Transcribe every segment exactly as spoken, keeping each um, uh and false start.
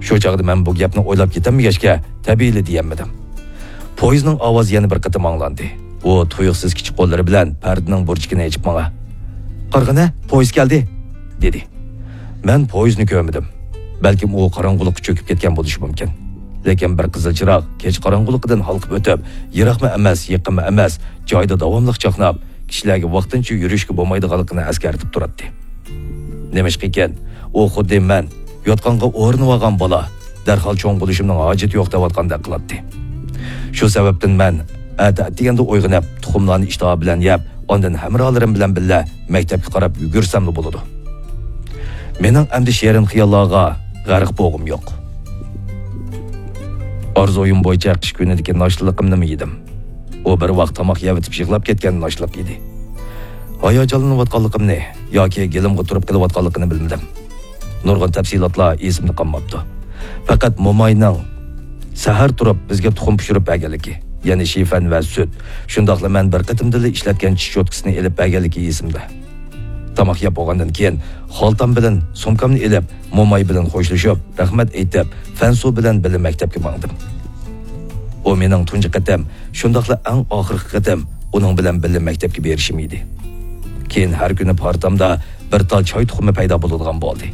شۇ چاغدا مەن بۇ گەپنى ئويلاپ يېتەلمىگەچكە، تەبىئىيلا دېيەلمىدىم. پويىزنىڭ ئاۋازى يەنە بىر قېتىم ئاڭلاندى. ئۇ تۇيۇقسىز كىچىك قوللىرى بىلەن پەردىنىڭ بۇرجىكىنى ئېچىپ ماڭا، «قارىغىنە، پويىز كەلدى!» دېدى. مەن پويىزنى كۆرمىدىم. بەلكىم ئۇ قاراڭغۇلۇققا چۆكۈپ كەتكەن بولۇشى مۇمكىن. لېكىن بىر قىزىل چىراغ كېچە قاراڭغۇلۇقىدىن ھالقىپ ئۆتۈپ، يىراقمۇ ئەمەس، يېقىنمۇ ئەمەس، جايىدا داۋاملىق چاقناپ، كىشىلەرگە ۋاقتىنچە يۈرۈشكە بولمايدىغانلىقىنى ئەسكەرتىپ تۇراتتى. نېمىشقىكىن، ئۇ خۇددى مەن يوتقانغا ئورىنىۋالغان بالا، دەرھال چوڭ بولۇشۇمنىڭ ھاجىتى يوق دەۋاتقاندەك قىلاتتى. شۇ سەۋەبتىن مەن ئەتە ئەتىگەندە ئويغىنىپ، تۇخۇملارنى ئىشتىھا بىلەن يەپ، ئاندىن ھەمراھلىرىم بىلەن بىللە مەكتەپكە قاراپ يۈگۈرسەملا بولىدۇ. مېنىڭ ئەمدى شېرىن خىياللارغا غەرق بولغۇم يوق. ئارزۇيۇم بويىچە قىش كۈنىدىكى ناشتىلىقىمنىمۇ يېدىم. ئۇ بىر ۋاق تاماق يەۋېتىپ يىغلاپ كەتكەن ناشتىلىق ئىدى. ھاياجانلىنىۋاتقانلىقىمنى ياكى گېلىمغا تۇرۇپ قېلىۋاتقانلىقىنى بىلمىدىم. نۇرغۇن تەپسىلاتلار ئېسىمدە قالماپتۇ. پەقەت موماينىڭ سەھەر تۇرۇپ بىزگە تۇخۇم پىشۇرۇپ بەرگەنلىكى، يەنى شىفەن ۋە سۈت، شۇنداقلا مەن بىر قېتىمدىلا ئىشلەتكەن چىش چوتكىسىنى ئېلىپ بەرگەنلىكى ئېسىمدە. تاماق يەپ بولغاندىن كېيىن، خالتام بىلەن سومكامنى ئېلىپ، موماي بىلەن خوشلىشىپ، رەھمەت ئېيتىپ، فەنسۇ بىلەن بىللە مەكتەپكە ماڭدىم. ئۇ مېنىڭ تۇنجى قېتىم، شۇنداقلا ئەڭ ئاخىرقى قېتىم ئۇنىڭ بىلەن بىللە مەكتەپكە بېرىشىم ئىدى. كېيىن ھەر كۈنى پارتامدا بىر تال چاي تۇخۇمى پەيدا بولىدىغان بولدى.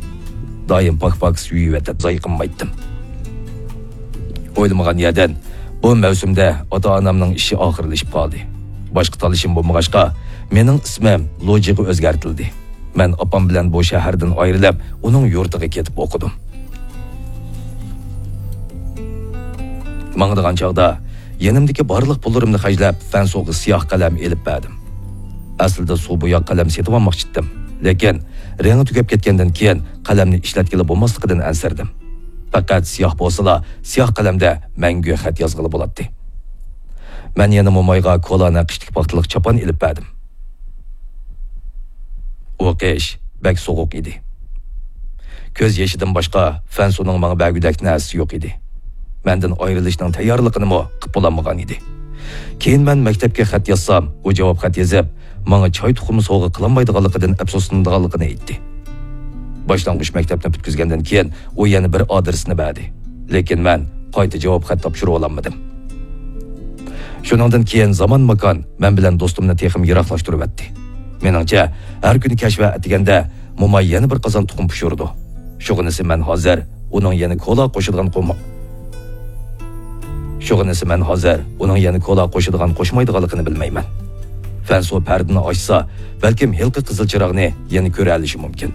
دائىم پاك-پاكىز يۇيۇۋېتىپ زايقىنمايتتىم. ئويلىمىغان يەردىن بۇ مەۋسۇمدە ئاتا-ئانامنىڭ ئىشى ئاخىرلىشىپ قالدى. باشقا تاللىشىم بولمىغاچقا، مېنىڭ ئىسمىم لۇجىغا ئۆزگەرتىلدى. مەن ئاپام بىلەن بۇ شەھەردىن ئايرىلىپ، ئۇنىڭ يۇرتىغا كېتىپ ئوقۇدۇم. ماڭىدىغان چاغدا يېنىمدىكى بارلىق پۇللىرىمنى خەجلەپ، فەنسوغا سىياھ قەلەم ئېلىپ بەردىم. ئەسلىدە سۇ بوياق قەلەم سېتىۋالماقچىدىم. لېكىن رېڭى تۈگەپ كەتكەندىن كېيىن قەلەمنى ئىشلەتكىلى بولماسلىقىدىن ئەنسىرىدىم. پەقەت سىياھ بولسىلا، سىياھ قەلەمدە مەڭگۈ خەت يازغىلى بولاتتى. مەن يەنە مومايغا كولا نەقىشلىك پاختىلىق چاپان ئېلىپ بەردىم. ئۇ قىش بەك سوغۇق ئىدى. كۆز يېشىدىن باشقا فەنسۇنىڭ ماڭا بەرگۈدەك نەرسىسى يوق ئىدى. مەندىن ئايرىلىشنىڭ تەييارلىقىنىمۇ قىپ بولالمىغان ئىدى. كېيىن مەن مەكتەپكە خەت يازسام، ئۇ جاۋاب خەت يېزىپ، ماڭا چاي تۇخۇمى سوۋغا قىلالمايدىغانلىقىدىن ئەپسۇسلىنىدىغانلىقىنى ئېيتتى. باشلانغۇچ مەكتەپنى پۈتكۈزگەندىن كېيىن، ئۇ يەنە بىر ئادرېسنى بەردى. لېكىن مەن قايتا جاۋاب خەت تاپشۇرۇۋالالمىدىم. شۇنىڭدىن كېيىن زامان-ماكان مەن بىلەن دوستۇمنى تېخىمۇ يىراقلاشتۇرۇۋەتتى. مېنىڭچە، ھەر كۈنى كەچ ۋە ئەتىگەندە موماي يەنە بىر قازان تۇخۇم پىشۇرىدۇ. شۇغىنىسى مەن ھازىر ئۇنىڭ يەنە كولا قوشىدىغان قوما-، شۇغىنىسى مەن ھازىر ئۇنىڭ يەنە كولا قوشىدىغان قوشمايدىغانلىقىنى بىلمەيمەن. فەنسۇ پەردىنى ئاچسا، بەلكىم ھېلىقى قىزىل چىراغنى يەنە كۆرەلىشى مۇمكىن.